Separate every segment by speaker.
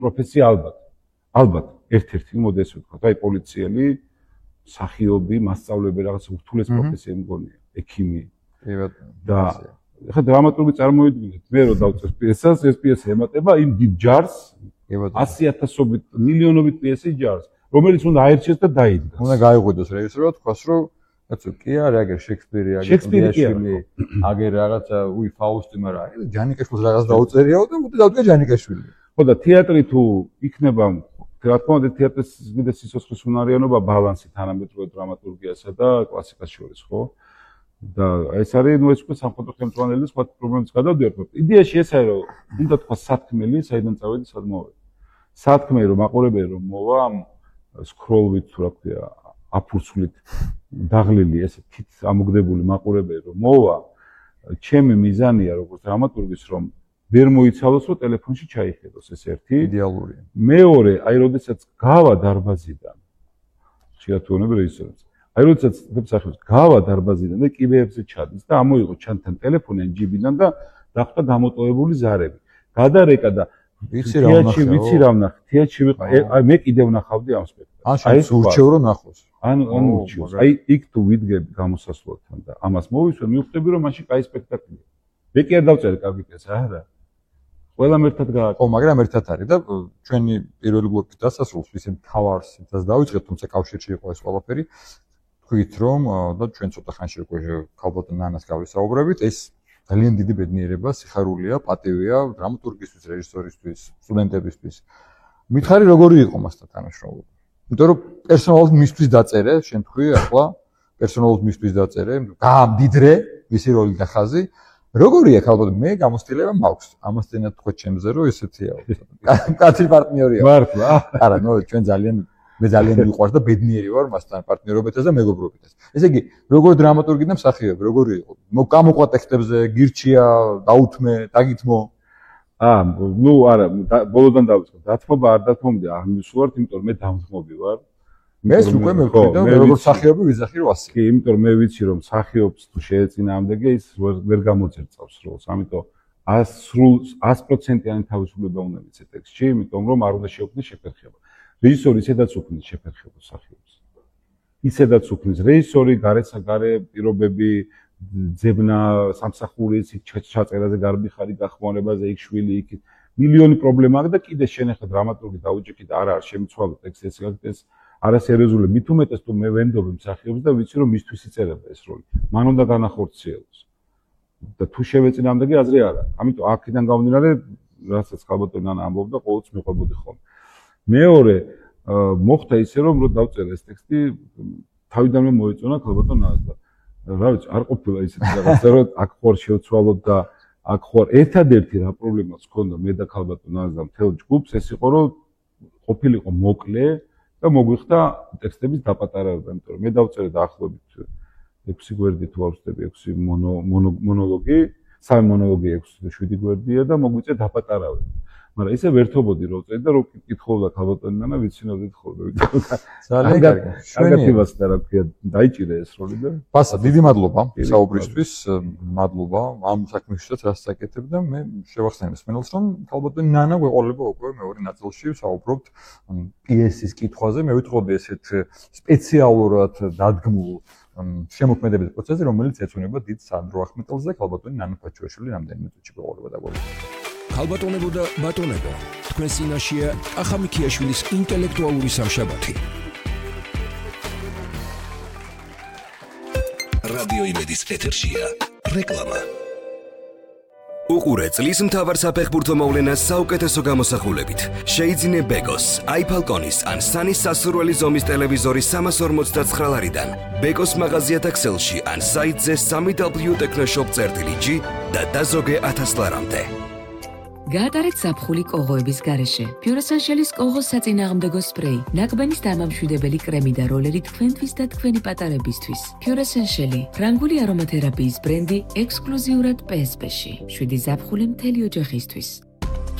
Speaker 1: პროფესია ალბათ ერთ-ერთი მოდე ესე ვთქვა, აი პოლიციელი, მსახიობი, მასწავლებელი რაღაც ურთულეს პროფესია მგონია, ექიმი. და ხა დრამატურგი წარმოიდგინეთ, მე რო დავწერს პიესას, ეს პიესა ემატება იმ დიდ ჯარს, 100,000-ობით, მილიონობით პიესის ჯარს, რომელიც უნდა აერჩიოს და დაიდგას.
Speaker 2: უნდა გაიღვიდოს რეჟისორად, თქვას რომ კაცო, კი არა, აგერ შექსპირი, აგერ დიაშვილი, აგერ რაღაცა, ფაუსტი, მაგრამ ჯანიკაშვილს რაღაც დაუწერიაო და მოდი დავდგა ჯანიკაშვილი.
Speaker 1: ხო და თეატრი თუ იქნება, რა თქმა უნდა, თეატრის კიდე სიცოცხლის უნარიანობა ბალანსი თანამედროვე დრამატურგიასა და კლასიკას შორის, ხო? და ეს არის, ეს უკვე სამხატვრო ხელმძღვანელი სხვა პრობლემებს გადავდივართ. იდეაში ეს არის, რომ უნდა თქვა სათქმელი, საიდან წავედი, სად მოვედი. სათქმელი რომ მაყურებელი რომ მოვა სკროლვით თუ რა ქვია, აფურცვლით დაღლილი ესე თით ამოგდებული მაყურებელი რომ მოვა, ჩემი მიზანია როგორც დრამატურგის რომ ვერ მოიცალოს რომ ტელეფონში ჩაიხედოს ეს ერთი
Speaker 2: იდეალურია.
Speaker 1: მეორე, აი როდესაც გავა დარბაზიდან შეათუონებ რეჟისორებს. აი როდესაც მსახიობს გავა დარბაზიდან და კიბეებზე ჩადის და ამოიღო ჩანთან ტელეფონი ან ჯიბიდან და დახვდა დამოტოვებული ზარები. გადარეკა და
Speaker 2: ვიცი რა
Speaker 1: ვნახე, თეატრში ვიყავ, აი მე კიდევ ვნახავდი ამ სპექტაკლს.
Speaker 2: აი ურჩევ რომ ნახოს.
Speaker 1: ანუ ურჩევს. აი იქ თუ ვიდგები გამოსასვლელთან და ამას მოვისვენ, მივხვდები რომ მაშინ კაი სპექტაკლია. მე კი არ დავწერე კარგი პიესა, არა. ყველამ ერთად გააკეთე.
Speaker 2: ხო, მაგრამ ერთად არის და ჩვენი პირველი ბლოკის დასასრულს ისე თავარს იმას დავიწყეთ, თუმცა კავშირში იყო ეს ყველაფერი. თქვით რომ და ჩვენ ცოტა ხანში უკვე ქალბატონ ნანას გავისაუბრებით, ეს ძალიან დიდი ბედნიერება, სიხარულია, პატივია დრამატურგისთვის, რეჟისორისთვის, სტუდენტებისთვის. მითხარი როგორი იყო მასთან თანამშრომლობა? იმიტომ რომ პერსონალურად მისთვის დაწერე, შენ თქვი ახლა პერსონალურად მისთვის დაწერე, გაამდიდრე, ვისი როლი და ხაზი. როგორია ქალბატონ, მე გამოცდილება მაქვს. ამასთანავე თქვა ჩემზე რომ ესეთია. კაცი პარტნიორია.
Speaker 1: მართლა?
Speaker 2: არა, ნუ ჩვენ მე ძალიან მიყვარს და ბედნიერი ვარ მასთან პარტნიორობითაც და მეგობრობითაც. ესე იგი, როგორ დრამატურგი და მსახიობი, როგორი იყო? გამოყვა ტექსტებზე, გირჩია, დაუთმე, დაგითმო.
Speaker 1: ნუ არა, ბოლოდან დავიწყე. დათმობა არ დათმობდი, არ მისულართ, იმიტომ რომ მე დამთმობი ვარ.
Speaker 2: მეს უკვე მეკითხი და მე როგორ მსახიობი ვიზახი რომ ასე.
Speaker 1: კი, იმიტომ რომ მე ვიცი რომ მსახიობს თუ შეეწინააღმდეგე ის ვერ გამოძერწავს როლს. ამიტომ 100%-იანი თავისუფლება უნდა მიცე ტექსტში, იმიტომ რომ არ უნდა შეუქმნას შეფერხება. რეჟისორი ისედაც უქმნის შეფერხებას მსახიობს. ისედაც უქმნის რეჟისორი, გარესაგარე პირობები, ძებნა, სამსახურის, ჩაწერაზე გარბიხარი, გახმარებაზე, იქ შვილი, იქ მილიონი პრობლემა აქვს და კიდე შენ ახლა დრამატურგი დაუჭიქი და არა შემიცვალო ტექსტი ეს გაკეთეს არასერიოზული. მით უმეტეს თუ მე ვენდობი მსახიობს და ვიცი რომ მისთვის იწერება ეს როლი. მან უნდა განახორციელოს. და თუ შევეწინააღმდეგე აზრი არა. ამიტომ აქედან გამომდინარე, რასაც ქალბატონი ნანა ამბობდა, ყოველთვის მიყვებოდი ხოლმე. მეორე მოხდა ისე რომ დავწერე ეს ტექსტი თავიდანვე მოეწონა ქალბატონ ნანას და რა ვიცი არ ყოფილა ისეთი რაღაცა რომ აქ ხوار შევცვალოთ და აქ ხوار ერთადერთი რა პრობლემაც ჰქონდა მე და ქალბატონ ნანას და მთელ ჯგუფს ეს იყო რომ ყოფილიყო მოკლე და მოგვიხდა ტექსტების დაპატარავება იმიტომ რომ მე დავწერე დაახლოებით 6 გვერდი თუ არ ვცდები 6 მონოლოგი 3 მონოლოგი 6-7 გვერდია და მოგვიწე დაპატარავება მაგრამ ისე ვერთობოდი რომ წერდი და რომ კითხულობდა ქალბატონი ნანა ვიცინოდით ხოლმე
Speaker 2: ძალიან კარგი
Speaker 1: შენიებას და რა ქვია დაიჭირე ეს როლი და
Speaker 2: ბასა დიდი მადლობა საუბრისთვის მადლობა ამ საქმეშიც რაც საკეთებ და მე შევახსენებ მსმენელს რომ ქალბატონი ნანა გვეყოლება უკვე მეორე ნაწილში ვსაუბრობთ პიესის კითხვაზე მე ვიტყოდი ესეთ სპეციალურად დადგმულ შემოქმედების პროცესზე რომელიც ეწონება დიდ სანდრო ახმეტელს და ქალბატონი ნანა ფაჩუაშვილი რამდენიმე წუთში გვეყოლება დაგვეუბნება
Speaker 3: ქალბატონებო და ბატონებო, თქვენ წინაშეა ახამი ქიაშვილის ინტელექტუალური სამშაბათი. რადიო იმედის ეთერშია რეკლამა. უყურე წლის მთავარ საფეხბურთო მოვლენას საუკეთესო გამოსახულებით. შეიძინე ბეკოს, iPhone-ის ან სანის სასურველი ზომის ტელევიზორი 349 ლარიდან. ბეკოს მაღაზიათა ქსელში ან საიტზე www.technoshop.gr და დაზოგე 1000 ლარამდე.
Speaker 4: გაატარეთ ზაფხული კოღოების გარეშე. Pure-Essentials კოღოს საწინააღმდეგო სპრეი, ნაკბენის დამამშვიდებელი კრემი და როლერი თქვენთვის და თქვენი პატარებისთვის. Pure-Essentials, ფრანგული არომათერაპიის ბრენდი ექსკლუზიურად PSP-ში. 7 ზაფხული მთელი ოჯახისთვის.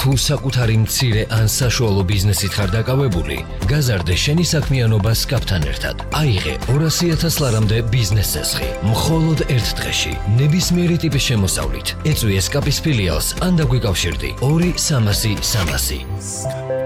Speaker 5: თუ საკუთარი მცირე ან საშუალო ბიზნესით ხარ დაკავებული, გაზარდე შენი საქმიანობა SCAP-თან ერთად. აიღე 200,000 ლარამდე ბიზნეს წესხი, მხოლოდ ერთ დღეში, ნებისმიერი ტიპის შემოსავლით. ეწვი SCAP-ის ფილიალს ან დაგვიკავშირდი 2-300-300.